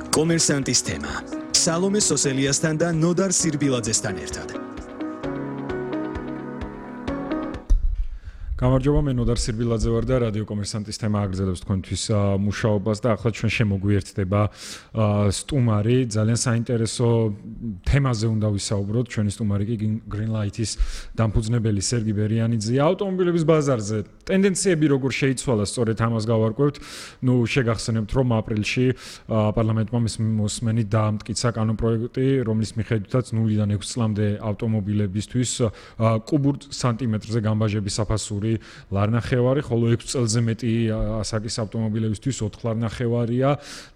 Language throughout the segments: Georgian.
კომერსანტის თემა. სალომე სოსელიასთან და ნოდარ სირბილაძესთან ერთად. გამარჯობა, მე ნოდარ სირბილაძე ვარ და რადიო კომერსანტის თემა აგრძელებს თქვენთვის მუშაობას და ახლა ჩვენ შემოგვიერთდება სტუმარი, ძალიან საინტერესო თემაზე უნდა ვისაუბროთ. ჩვენი სტუმარი კი Greenlight-ის დამფუძნებელი სერგი ბერიანიძეა. ავტომობილების ბაზარზე ტენდენციები როგორ შეიცვალა, სწორედ ამას გავარკვევთ. შეგახსენებთ, რომ აპრილში პარლამენტმა მოსმენით დაამტკიცა კანონპროექტი, რომლის მიხედვითაც 0-დან 6 წლამდე ავტომობილებისთვის კუბურ სანტიმეტრზე გამბაჟების საფასური ლარნახევარი, ხოლო 6 წელზე მეტი ასაკის ავტომობილებისთვის 4 ლარნახევარია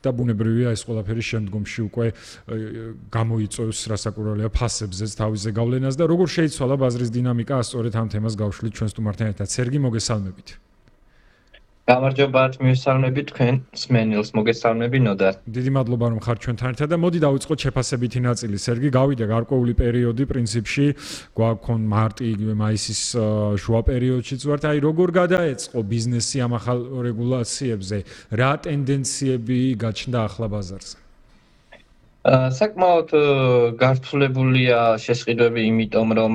და ბუნებრივია ეს ყველაფერი შემდგომში უკვე გამოიწვევს რასაკურველია ფასებზეც თავის ზეგავლენას და როგორ შეიცვალა ბაზრის დინამიკა, სწორედ ამ თემას გავშლით ჩვენ სტუმართან ერთად. სერგი, მოგესალმებით. გამარჯობათ, მივესალმებით თქვენ მსმენელს, მოგესალმები ნოდარ. დიდი მადლობა რომ ხართ ჩვენთან ერთად და მოდი დავიწყოთ შეფასებითი ნაწილი. სერგი, გავიდა გარკვეული პერიოდი პრინციპში, გვაქვს მარტი, იგივე მაისის შუა პერიოდშიც ვართ. აი, როგორ გადაეწყო ბიზნესი ამ ახალ რეგულაციებზე? რა ტენდენციები გაჩნდა ახლა ბაზარზე? საკმაოდ გართულებულია შესყიდვები, იმიტომ რომ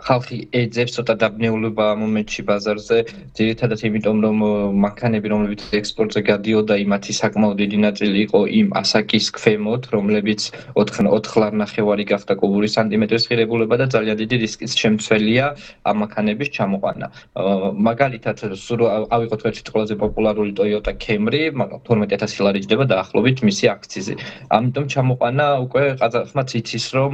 ხალხი ეძებს ცოტა დაბნეულობა ამ მომენტში ბაზარზე, ძირითადად იმიტომ რომ მანქანები, რომლებიც ექსპორტზე გადიოდა, იმათი საკმაოდ დიდი ნაწილი იყო იმ ასაკის ქვემოთ, რომლებიც 4 ლარნახევარი გახდა კუბური სანტიმეტრის ღირებულება და ძალიან დიდი რისკის შემცველია ამ მანქანების ჩამოყვანა. მაგალითად, ავიღოთ ერთ ყველაზე პოპულარული Toyota Camry, 12000 ლარი ჯდება დაახლოებით მისი აქციზი. ამიტომ ჩამოყვანა უკვე ყაზახმაც იცის, რომ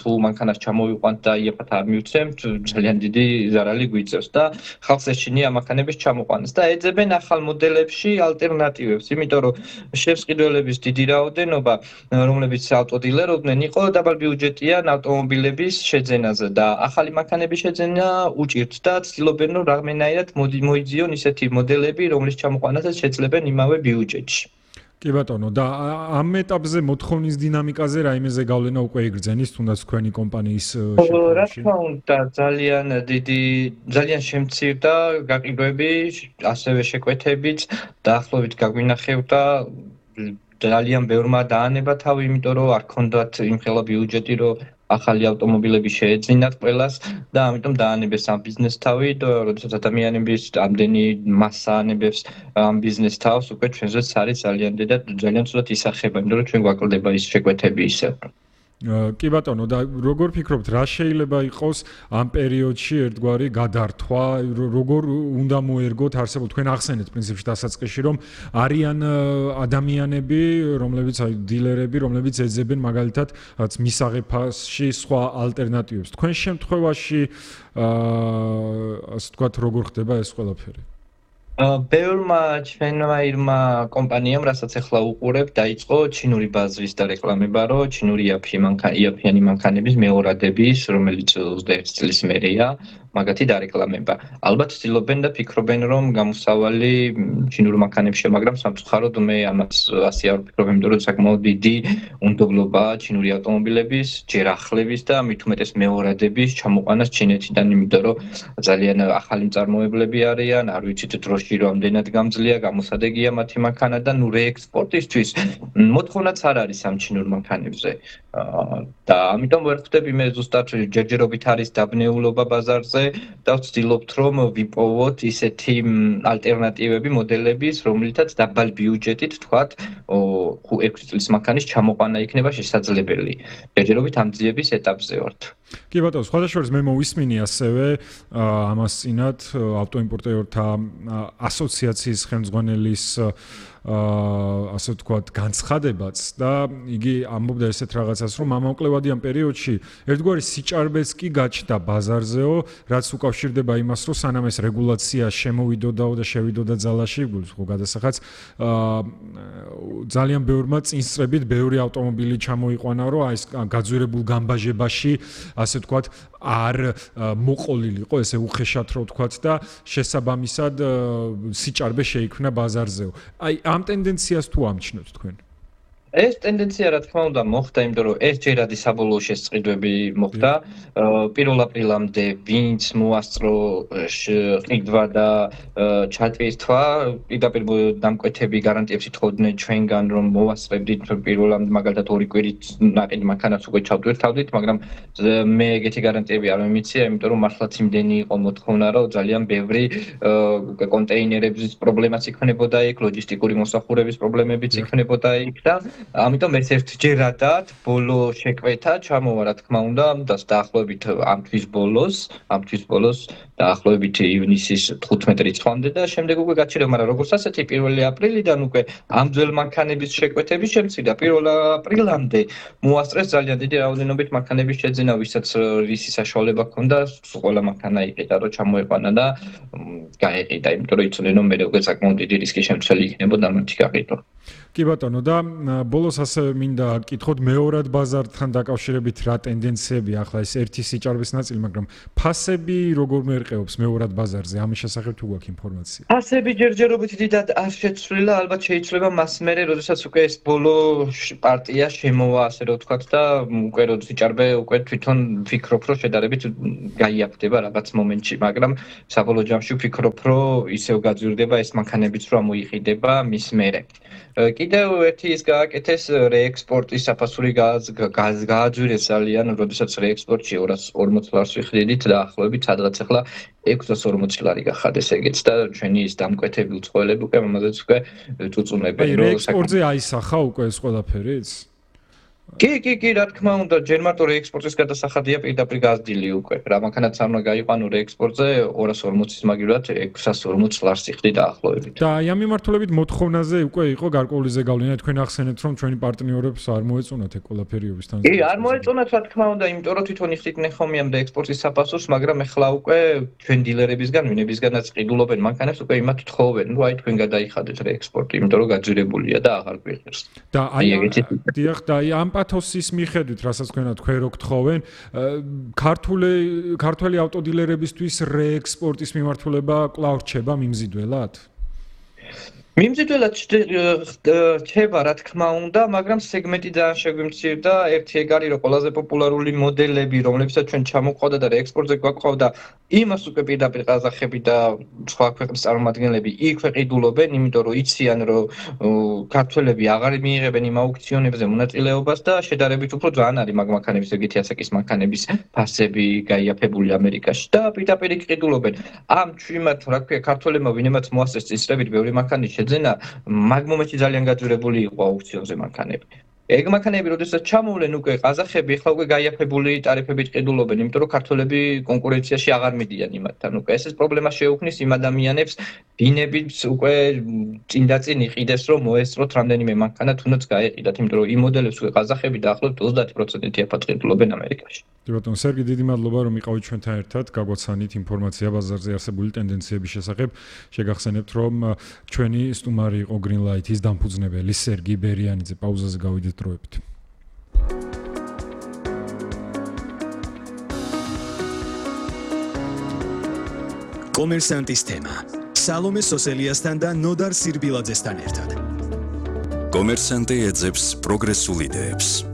თუ მანქანას ჩამოვიყვანთ და იაფად არ მივცემთ, ძალიან დიდი ზარალი გვიწევს და ხალხს ეშინია მანქანების ჩამოყვანას და ეძებენ ახალ მოდელებში ალტერნატივებს, იმიტომ რომ შევსყიდველების დიდი რაოდენობა, რომლებიც ავტოდილერობდნენ, იყო დაბალბიუჯეტიან ავტომობილების შეძენაზე და ახალი მანქანების შეძენა უჭირთ და ცდილობენ რომ რაღაცნაირად მოიძიონ ისეთი მოდელები, რომლის ჩამოყვანასაც შეძლებენ იმავე ბიუჯეტში. კი ბატონო, და ამ ეტაპზე მოთხოვნის დინამიკაზე რაიმე ზეგავლენა უკვე იგრძენის, თუნდაც თქვენი კომპანიის შეფასებაში? რა თქმა უნდა, ძალიან შემცირდა გაყიდვები, ასევე შეკვეთებიც, დაახლოებით გაგვინახევდა ძალიან ბევრმა დაანება თავი, იმიტომ რომ არ ქონდათ იმხელა ბიუჯეტი, რომ ახალი ავტომობილები შეეძინათ ყველას და ამიტომ დაანებეს ამ ბიზნეს თავი და როდესაც ადამიანების ამდენი მასა ანებებს ამ ბიზნეს თავს, უკვე ჩვენზეც არის ძალიან ცუდად ისახება, იმიტომ რომ ჩვენ გვაკლდება ის შეკვეთები ისევ. კი ბატონო, და როგორ ფიქრობთ, რა შეიძლება იყოს ამ პერიოდში ერთგვარი გადართვა, როგორ უნდა მოერგოთ არსებულ, თქვენ ახსენეთ პრინციპში დასაწყისში, რომ არიან ადამიანები, რომლებიც აი დილერები, რომლებიც ეძებენ მაგალითად მისაღებ ფასში სხვა ალტერნატივებს. თქვენ შემთხვევაში ასე ვთქვათ, როგორ ხდება ეს ყველაფერი? ბევრმა ჩვენმა კომპანიამ, რასაც ახლა უყურებ, დაიწყო ჩინური ბაზრის დარეკლამება, რომ ჩინური იაფიანი მანქანების მეორადების, რომელიც 21 წლის მერეა, მაგათი დარეკლამება. ალბათ ცდილობენ და ფიქრობენ, რომ გამოსავალი ჩინურ მანქანებში, მაგრამ სამწუხაროდ მე ამას ასე არ ვფიქრობ, იმიტომ რომ საკმაოდ დიდი უნდობლობაა ჩინური ავტომობილების, ჯერ ახლების და მით უმეტეს მეორადების ჩამოყვანას ჩინეთიდან, იმიტომ რომ ძალიან ახალი მწარმოებლები არიან, არ ვიცით დროში რამდენად გამძლეა, გამოსადეგია მათი მანქანა და რეექსპორტისთვის მოთხოვნაც არ არის ამ ჩინურ მანქანებზე. და ამიტომ ვერ ხვდები მე ზუსტად ჯერჯერობით არის დაბნეულობა ბაზარზე და ვცდილობთ რომ ვიპოვოთ ისეთი ალტერნატივები მოდელების, რომლითაც დაბალ ბიუჯეტით თქვათ 6 წლის მანქანის ჩამოყვანა იქნება შესაძლებელი. ჯერჯერობით ამ ძიების ეტაპზე ვართ. კი ბატონო, სხვადასხვა მე მოვისმინი ასევე ამას წინათ ავტოიმპორტიორთა ასოციაციის ხელმძღვანელის ასე ვთქვათ განცხადებაც და იგი ამბობდა ესეთ რაღაცას, რომ ამავკლევადიან პერიოდში ერთგვარი სიჭარბეც კი გაჩნდა ბაზარზეო, რაც უკავშირდება იმას, რომ სანამ ეს რეგულაცია შემოვიდოდაო და შევიდოდა ძალაში, ხო გადასახაც ძალიან ბევრმა წინსწრებით ბევრი ავტომობილი ჩამოიყვანა, რომ აი ეს გაძვირებულ გამბაჟებაში ასე ვთქვათ არ მოყოლილიყო, ესე უხეშად რო ვთქვათ და შესაბამისად სიჭარბე შეიქმნა ბაზარზეო. აი ამ ტენდენციას თუ ამჩნევთ თქვენ? ეს ტენდენცია რა თქმა უნდა მოხდა, იმიტომ რომ ეს ჯერადი საბოლოო შესყიდვები მოხდა 1 აპრილამდე, ვინც მოასწრო ყიდვა და ჩატვირთვა, პირდაპირ დამკვეთები გარანტიებს ითხოვდნენ ჩვენგან, რომ მოვასწრებდით 1 მაგალითად 2 კვირით ნაყიდ მანქანას უკვე ჩავტვირთავდით, მაგრამ მე ეგეთი გარანტიები არ მიმიცია, იმიტომ რომ მართლაც იმდენი იყო მოთხოვნა, რომ ძალიან ბევრი კონტეინერების პრობლემაც იქნებოდა იქ, ლოჯისტიკური მოსახურების პრობლემებიც იქნებოდა იქ და ამიტომ ეს ერთჯერადად ბოლო შეკვეთა ჩამოვა რა თქმა უნდა დაახლოებით ამ თვის ბოლოს დაახლოებით ივნისის 15 რიცხვამდე და შემდეგ უკვე გაჩერდა, მაგრამ როგორც ასეთი 1 აპრილიდან უკვე ამ ძველ მანქანების შეკვეთების შემცირდა 1 აპრილამდე მოასწრეს ძალიან დიდი რაოდენობით მანქანების შეძენა, ვისაც რისი საშუალება ჰქონდა, ყველა მანქანა იყიდა, რომ ჩამოეყვანა და გაეყიდა, იმიტომ რომ იცოდნენ რომ მე უკვე საკმაოდ დიდი რისკი შემცველი იქნებოდა მათი გაყიდვა. კი ბატონო და ბოლოს ასევე მინდა გკითხოთ მეორად ბაზართან დაკავშირებით რა ტენდენციები ახლა ეს ერთი სიჭარბის ნაწილი, მაგრამ ფასები როგორ მერყეობს მეორად ბაზარზე? ამის შესახებ თუ გვაქვს ინფორმაცია? ფასები ჯერჯერობით დიდად არ შეცვლილა, ალბათ შეიძლება მას მერე, როდესაც უკვე ეს ბოლო პარტია შემოვა, ასე რომ ვთქვათ და უკვე რო სიჭარბე უკვე თვითონ ვფიქრობ, რომ შედარებით გაიაფდება რაღაც მომენტში, მაგრამ საბოლოო ჯამში ვფიქრობ, რომ ისევ გაძვირდება ეს მანქანებიც რომ მოიყიდება მის მერე. კიდევ ერთი ის გააკეთეს რეექსპორტის საფასური გააძვირეს ძალიან, როდესაც რეექსპორტში 240 ლარს ვიხდიდით და ახლობით სადღაც ახლა 640 ლარი გახადეს ეგეც და ჩვენი ის დამკვეთები უცხოელები უკვე ამაზეც უკვე წუწუნებენ, რომ რეექსპორტზე აისახა უკვე ეს ყველაფერიც? კი, რა თქმა უნდა, ჯერ მარტო რეექსპორტის გადასახადია პირდაპირ გაზრდილი უკვე. რა მანქანაც არ უნდა გაიყვანო რეექსპორტზე 240-ის მაგივრად 640 ლარს იხდი დაახლოებით. და აი ამ მიმართულებით მოთხოვნაზე უკვე იყო გარკვეული ზეგავლენა, თქვენ ახსენეთ რომ ჩვენი პარტნიორებს არ მოეწონათ ეგ ყველაფერიობის თან. კი, არ მოეწონათ რა თქმა უნდა, იმიტომ რომ თვითონ იხდიდნენ ხომ ამ და ექსპორტის საფასურს, მაგრამ ახლა უკვე ჩვენ დილერებისგან, ვინებისგანაც ყიდულობენ მანქანებს, უკვე იმათ თხოვენ, რომ აი თქვენ გადაიხადეთ რეექსპორტი, იმიტომ რომ გაძვირებულია და აღარ გვიღირს. და აი დიახ, და აი ამ პათოსის მიხედვით, რასაც თქვენ რო გთხოვენ, ქართული ავტოდილერებისთვის რეექსპორტის მიმართულება კვლავ რჩება მიმზიდველად? მიმზიდველად რჩება, რა თქმა უნდა, მაგრამ სეგმენტი ძალიან შეგვიმცირდა. ერთი ეგ არის, რომ ყველაზე პოპულარული მოდელები, რომლებსაც ჩვენ ჩამოყავდა და რეექსპორტზე გვაყავდა, იმას უკვე პირდაპირ ყაზახები და სხვა ქვეყნის წარმომადგენლები იქვე ყიდულობენ, იმიტომ რომ იციან, რომ ქართველები აღარ მიიღებენ იმ აუქციონებზე მონაწილეობას და შედარებით უფრო ძალიან არის მაგ მანქანების ეგეთი ასაკის მანქანების ფასები გაიაფებული ამერიკაში და პირდაპირ ყიდულობენ. ამ ჩვენთ რა ქვია, ქართველებმა ვინმეც მოასწრეს წესრებით ბევრი მანქანის შეძენა, მაგ მომენტში ძალიან გაძვირებული იყო აუქციონზე მანქანები. ეგ მანქანები, როდესაც ჩამოვლენ უკვე ყაზახები, ახლა უკვე გაიაფებული ტარიფებით ყიდულობენ, იმიტომ რომ ქართველები კონკურენციაში აღარ მიდიან იმათთან. უკვე ეს პრობლემა შეუქმნის იმ ადამიანებს, ვინებიც უკვე წინ იყიდეს, რომ მოესწროთ რამდენიმე მანქანა, თუნდაც გაეყიდათ, იმიტომ რომ იმ მოდელებს უკვე ყაზახები დაახლოებით 30% აფად ყიდულობენ ამერიკაში. კი ბატონო, სერგი, დიდი მადლობა რომ იყავით ჩვენთან ერთად, გაგვაცანით ინფორმაცია ბაზარზე არსებული ტენდენციების შესახებ. შეგახსენებთ, რომ ჩვენი სტუმარი იყო Greenlight-ის დამფუძნებელი სერგი ბერიანიძე. პაუზაზე გავიდეთ დროებით. კომერსანტის თემა. სალომე სოსელიასთან და ნოდარ სირბილაძესთან ერთად. კომერსანტი ეძებს პროგრესულ იდეებს.